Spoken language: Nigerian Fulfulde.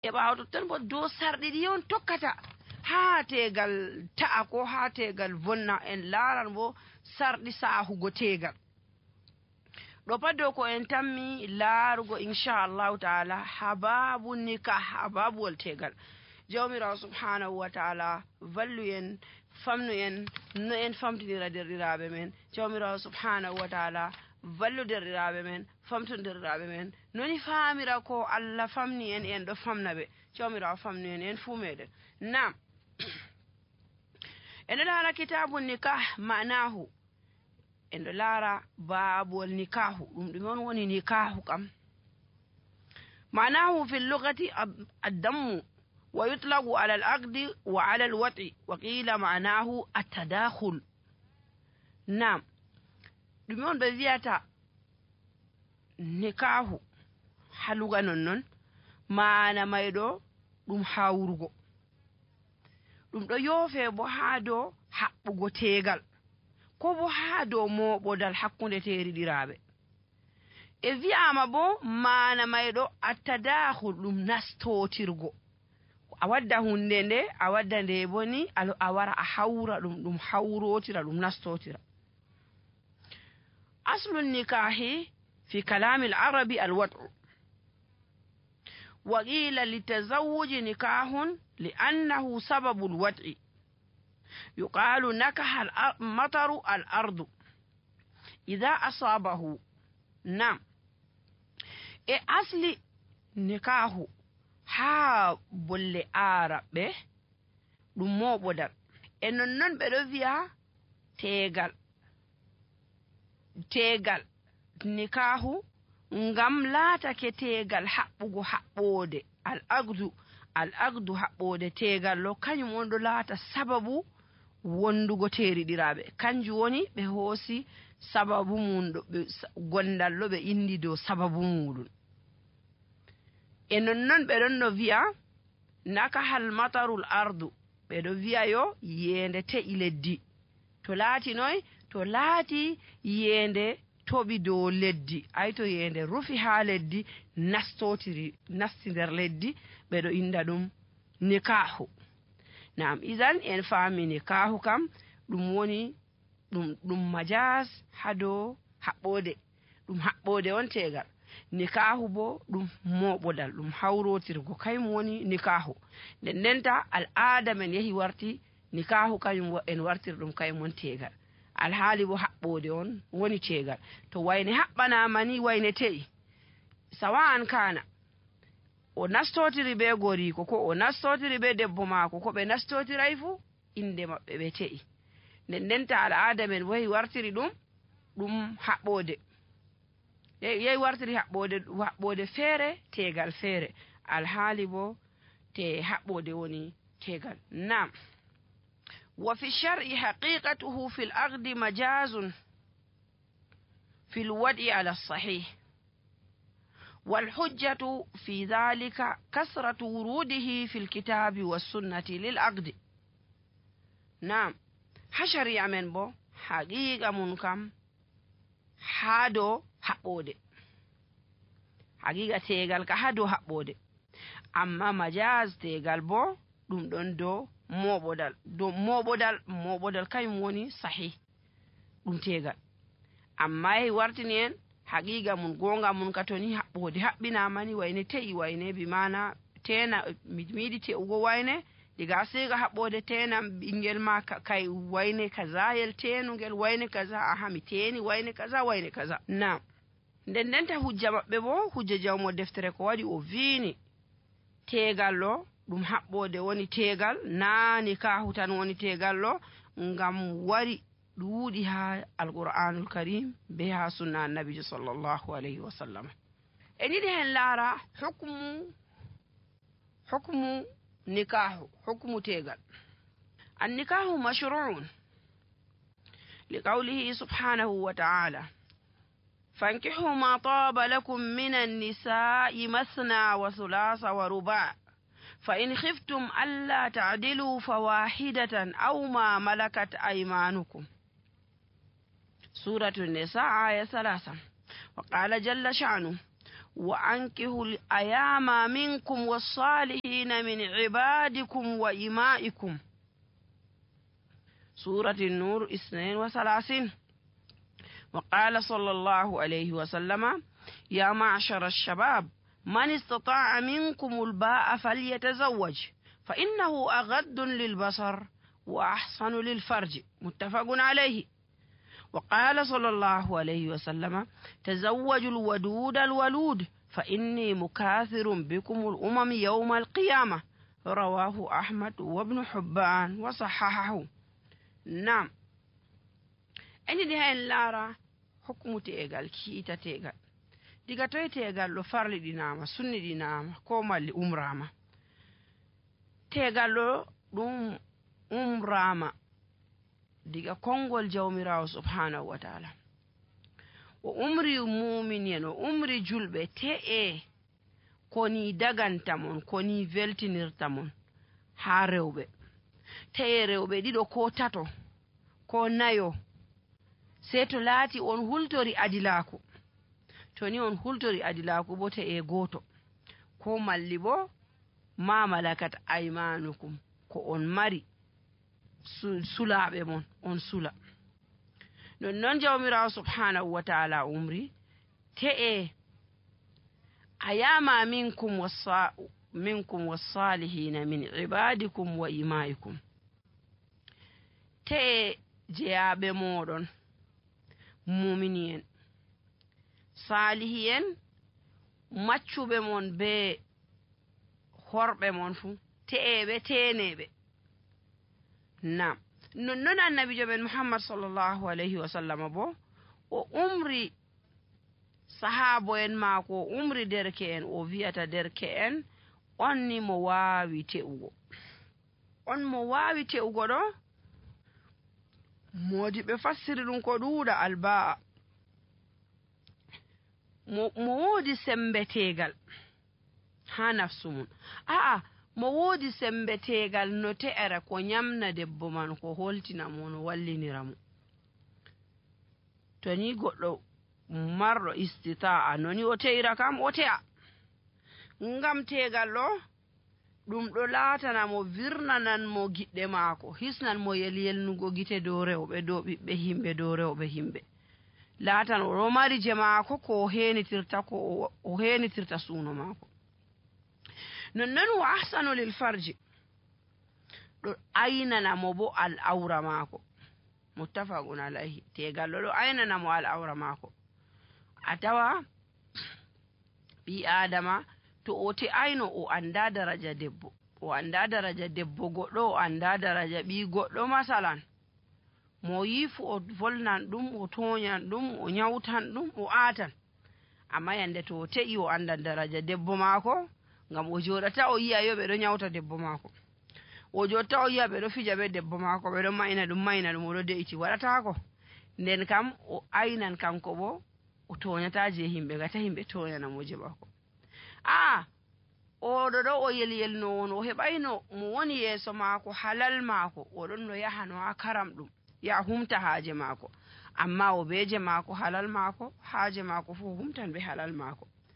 e ɓaawo totton bo dow sarɗi ɗi on tokkata haa tegal ta'a ko haa tegal vonna en laaran bo sarɗi saahugo tegal ɗo pat dow ko en tammi laarugo inchallahu taala hababu nikah hababuwol tegal jawmirawo subhanahu wa taala vallu en famnu en no en famtinira derɗiraɓe men jawmirawo subhanahu wa taala vallu derɗiraɓe men famtu derɗiraɓe men noni famira ko Allah famni en ɗo famna ɓe jawmirawo famnu en fuu meɗen nam en ɗo laara kitabu nikah ma'nahu en ɗo laara babuwol nikahu ɗum ɗume on woni nikahu kam ma'nahu fi lugati addammu wa yutlagu ala al-aqdi wa ala al-wat'i wa qila ma'nahu at-tadakhul nam ɗume on ɓe wiyata nikahu haluga nonnon mana mayɗo ɗum hawrugo ɗum ɗo yoofe bo haa dow haɓɓugo tegal ko bo haa dow moɓodal hakkunde teriɗiraɓe e wi'ama bo mana mayɗo attadahul ɗum nastotirgo a wadda hunde nde a wadda nde boni a wara a hawra ɗum hawrotira ɗum nastotira aslu nikahi fi kalami al-arabi al-wat'u wa qila litazawwuji nikahun li'annahu sababu al-wat'i yuqalu nakaha al-mataru al-ardu idha asabahu nam e asli nikahu ha bolle araɓe ɗum moɓodal e nonnon ɓe ɗo wi'a tegal nikahu ngam laatake tegal haɓɓugo haɓɓode al-aqdu haɓɓode tegal lo kañum on ɗo laata sababu wondugo teriɗiraɓe kanjum woni ɓe hoosi sababu mum ɗo gondal lo ɓe indi dow sababu muɗum e nonnon ɓe ɗon no wi'a nakahal matarul ardu ɓe ɗo wi'a yo yende te'i leddi to laati noy to laati yende toɓi dow leddi ay to yende rufi ha leddi nasti nder leddi ɓe ɗo inda ɗum nikahu nam idan en faami nikahu kam ɗum woni ɗum majas ha dow haɓɓode ɗum haɓɓode on tegal nikahu bo ɗum moɓodal ɗum hawrotirgo kayum woni nikahu ndenta al'ada men yahi warti nikahu kañum en wartir ɗum kayum won tegal alhaali bo haɓɓode on woni tegal to wayne haɓɓanama ni wayne te'i sawa'an kana o nastotiri be goriko ko o nastotiri be debbo maako ko ɓe nastotiray fu inde maɓɓe ɓe te'i ndenta al'ada men bo yahi wartiri ɗum haɓɓode yehi wartiri haɓɓode feere tegal feere alhaali bo te haɓɓode woni tegal nam wa fi shar'i haqiqatuhu fil aqdi majazun fil wad'i ala sahih wal hujjatu fi dhalika kasratu wurudihi fil kitabi was sunnati lil aqdi nam ha shari'a men bo haqiqa mun kam ha dow haɓɓode haqiqa tegal ka ha dow haɓɓode amma majaz tegal bo ɗum ɗon dow moɓodal kañum woni sahih ɗum tegal amma yehi wartini en haqiqa mun gonga mun ka toni haɓɓode haɓɓinamani wayne te'i wayne bi mana tena miɗi te'ugo wayne diga siga haɓɓode tena ɓingel ma kay wayne kaza yel tenugel wayne kaza aha mi teni wayne kaza na ndenta hujja maɓɓe bo hujja jawmo deftere ko waɗi o vini tegal lo ɗum haɓɓode woni tegal na nikahu tan woni tegal lo ngam wari ɗuuɗi ha alqur'anul karim be ha sunna annabijo sallallahu alayhi wa sallam en yiɗi hen laara hukmu nikahu hukmu tegal annikahu mashru'un liqawlihi subhanahu wa ta'ala fankihu ma taba lakum minan nisa'i masna wa thulatha wa ruba' fa in khiftum alla ta'dilu fawahidatan aw ma malakat aymanukum suratu an-nisa aya 3 wa qala jalla sha'nu wa ankihul ayama minkum wassalihina min ibadikum wa imaikum. سورة النور 32. وقال صلى الله عليه وسلم يا معشر الشباب من استطاع منكم الباء فليتزوج فإنه أغض للبصر وأحسن للفرج. متفق عليه. وقال صلى الله عليه وسلم تزوجوا الودود الولود فإني مكاثر بكم الأمم يوم القيامة. رواه أحمد وابن حبان وصححه. نعم أني دي هاي لارا حكم تيغال كيتا تيغال ديغا توي تيغال لو فارلي ديناما سني ديناما كومالي أمراما تيغال لو دوم أمراما ديغا كونغول جوميراو سبحانه وتعالى وأمري مؤمنين وأمري جلبة تي كوني دغانتامون كوني فيلتينيرتامون ها رewɓe teye rewɓe ɗiɗo ko tato ko nayo sey to laati on hultori adilaku to ni on hultori adilaku bo teye goto ko malli bo ma malakat aymanukum ko on mari sulaɓe mon on sula non jawmirawo subhanahu wa ta'ala umri teye ayama minkum wassalihina min ibadikum wa imaikum te jeyaɓe moɗon mumini en salihi en maccuɓe mon be horɓe mon fuu te'eɓe teneɓe. nam nonnon annabijo men muhammad sallllahu alayhi wa sallam bo o umri sahabo en maako o umri derke en o wiyata derke en on ni mo waawi te'ugo on mo waawi te'ugo ɗo modi ɓe fassiri ɗum ko ɗuuɗa albaa mo woodi sembetegal ha nafsu mum aa mo woodi sembetegal no te'era ko nyamna debbo man ko holtina mo no wallinira mo to ni goɗɗo marɗo istita'a noni o te'ira kam o te'a ngam tegal ɗo ɗum ɗo laatana mo virnanan mo giɗɗe maako hisnan mo yelyelnugo gite dow rewɓe dow ɓiɓɓe himɓe dow rewɓe himɓe laatan oɗo mari je maako ko o henitirta suuno maako nonnon wa ahsanu lil farji ɗo aynana mo bo al awra maako muttafaqun alayhi tegal ɗo aynana mo al awra maako a tawa ɓi adama to o te'ayno o anda daraja debbo o anda daraja debbo goɗɗo o anda daraja ɓi goɗɗo masalan mo yifu o volnan ɗum o toñan ɗum o nyawtan ɗum o atan amma yande to o te'i o andan daraja debbo maako ngam o joɗata o yiya yo ɓeɗo nyawta debbo maako o jotta o yiya ɓeɗo fija be debbo maako ɓeɗo mayna ɗum oɗo de'iti waɗatako nden kam o aynan kanko bo o toñata je himɓe gata himɓe toñanamo je maako oɗo ɗo o yelyelno on o heɓayno mo woni yeeso maako halal maako oɗon no yahano ha karam ɗum ya humta haaje maako amma o beje maako halal maako haaje maako fu humtan be halal maako